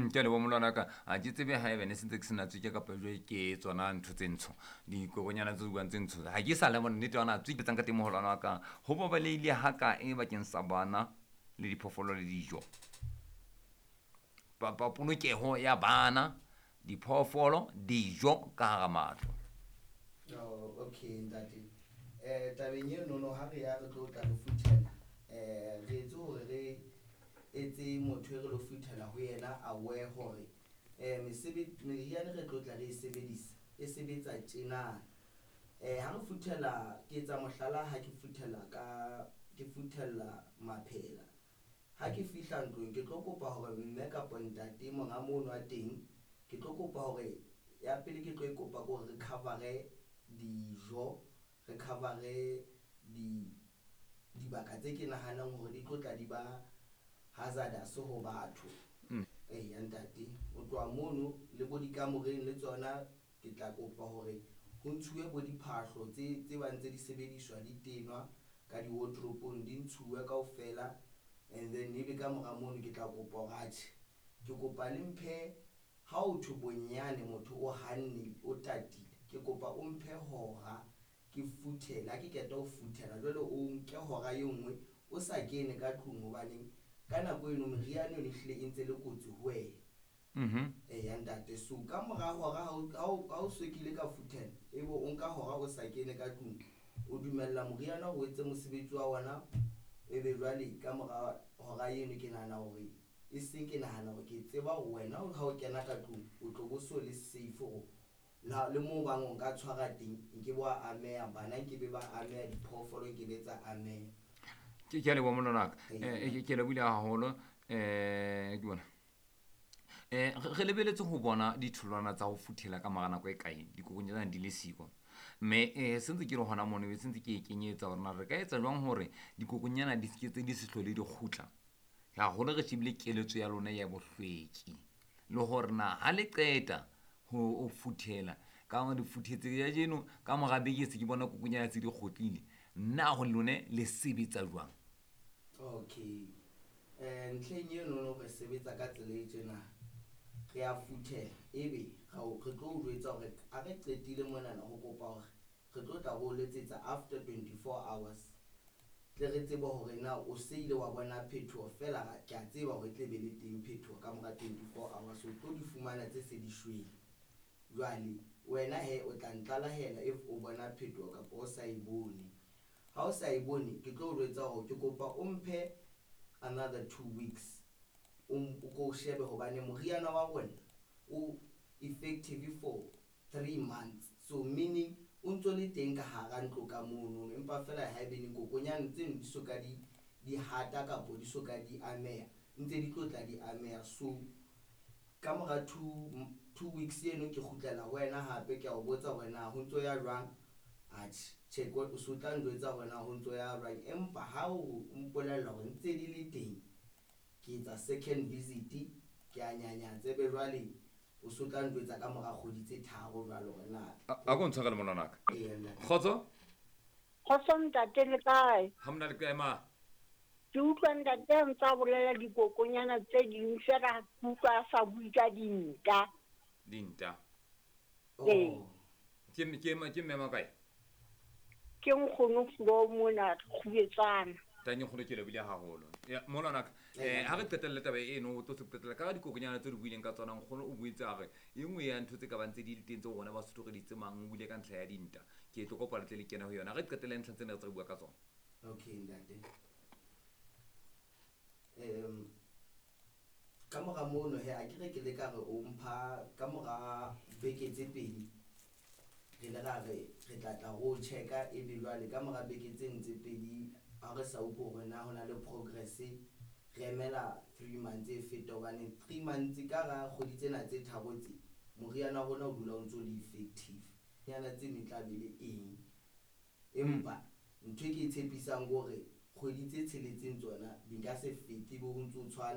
Ke a leboha molwana ka. Ha ke tsebe haeba ne sentse ke sena tsweke kapa jwe ke tsona ntho tse ntsho. Dikokonyana tse buang tse ntsho. Ha ke sa le nnete yona tsweke tsang ka teng moholwana wa ka. Ho babalehile ha kae bakeng sa bana le diphoofolo le dijo? Polokeho ya bana, diphoofolo, dijo ka hara matlo. Oh, okay ntate. Tabeng eno no ha re ya re tlo tla re futhela, re etse hore re etse motho e re lo futhela ho yena aware hore meriana re tlo tla re e sebedisa e sebetsa tjena. Ha re futhela, ke etsa mohlala, ha ke futhela ka ke futhella maphela. Ha ke fihla ntlong ke tlo kopa hore mme kapa ntate monga mono a teng, ke tlo kopa hore ya pele ke tlo e kopa ke hore re cover-e dijo, re cover-e di dibaka tse ke nahanang hore di tlo tla di ba hazardous ho batho. Eya ntate, o tloha mono le bo dikamoreng le tsona ke tla kopa hore ho ntshuwe bo diphahlo tse bang tse di sebediswa di tenwa ka di-wardrobe-ong, di ntshuwe kaofela. And then ebe ka mora mono ke tla kopa hore atjhe, ke kopa le mphe, ha o thwe bonyane motho o hanne o tatile, ke kopa o mphe hora ke futhele. Ha ke qeta ho futhela jwale o nke hora e nngwe o sa kene ka tlung, hobaneng ka nako eno meriana eno ehlile e ntse le kotsi ho wena. Eya ntate, so ka mora hora ha o so kile ka futhela, ebe o nka hora o sa kene ka tlung, o dumella moriana hore o etse mosebetsi wa ona. Ebe jwale ka mora hora eno ke nahana hore e seng, ke nahana hore ke tseba hore wena ha o kena ka tlung o tlo bo so le safe hore le moo bang o nka tshwara teng nke bo a ameha, bana nke be ba ameha, diphoofolo nke be tsa ameha. Ke a leboha molwana wa ka. Ke lebohile haholo. Ke bona. Re lebeletse ho bona ditholwana tsa ho futhela ka mora nako e kae dikokonyana di le siko. Mme sentse ke le hona mono, be sentse ke e kenyetsa hore na re ka etsa jwang hore dikokonyana di seke tse di se hlole di kgutla. Haholo re shebile keletso ya lona ya bohlweki le hore na ha le qeta ho futhela ka hore di futhetse ya jeno ka mora beke se ke bona kokonyana tse di kgutlile, na ho lone le sebetsa jwang? Okay. Ntlheng eno no re sebetsa ka tsela e tjena. Re a futhela ebe re tlo o jwetsa hore ha re qetile monana ho kopa hore re tlo tla re o letsetsa after 24 hours. Tle re tsebe hore na o se ile wa bona phethoho fela, ke a tseba hore e tle be le teng phethoho ka mora 24 hours, o tlo di fumana tse se di shwele. Jwale wena he o tla ntlalehela if o bona phethoho kapa o sa e bone. Ha o sa e bone, ke tlo o jwetsa hore ke kopa o mphe another 2 weeks o ko shebe, hobane moriana wa rona o effective for 3 months, so meaning o ntso le teng ka hara ntlo ka mono, empa fela haebene kokonyana tseno di so ka di hata kapo di so ka di ameha, ntse di tlo tla di ameha. So ka mora 2 weeks eno ke kgutlela ho wena hape, ke a o botsa hore na ho ntso ya jwang. Atjhe, tjhe, o so tla njwetsa hore na ho ntso ya jwang, empa ha o mpolella hore ntse di le teng, ke etsa second visit, ke a nyanyatsa, ebe jwale o so tla njwetsa ka mora kgwedi tse 3 jwale hore na. A ko ntshwarele molwana wa ka. Eya, ntate. Kgotso? Kgotso ntate, le kae? Ha mona le kae ma? Ke utlwa ntate a ntse a bolela dikokonyana tse ding fela, ke utlwa a sa bue ka dinta. Dinta. Ee. Oh. Ke mme wa kae? Ke nkgono Flo mona Kgubetsana. Tanye nkgono, ke lebohile haholo. Ya, molwana ka, ha re qetelle taba eno, o tlo se qetella ka dikokonyana tse re buileng ka tsona. Nkgono o buitse a re e nngwe ya ntho tse ka bang tse di le teng tseo rona Basotho re di tsemang, o buile ka ntlha ya dinta. Ke tlo kopa le tle le kene ho yona. Re qetelle ntlha tsena re tse re bua ka tsona. Okay ntate. Ka mora mono he, a ke re ke le ka re o mpha ka mora beke tse 2, re le ra re re tla tla ro checka, ebe jwale ka mora beke tse ntse 2 ha re sa utlwe hore na hona le progress, re emela 3 months e feta, hobane 3 months ka ra kgwedi tsena tse 3 tse moriana wa rona o dula o ntso le effective. Nyana tseno e tla be le eng, empa ntho e ke e tshepisang ke hore kgwedi tse 6 tsona di nka se fete, ebe ho ntso tshwana.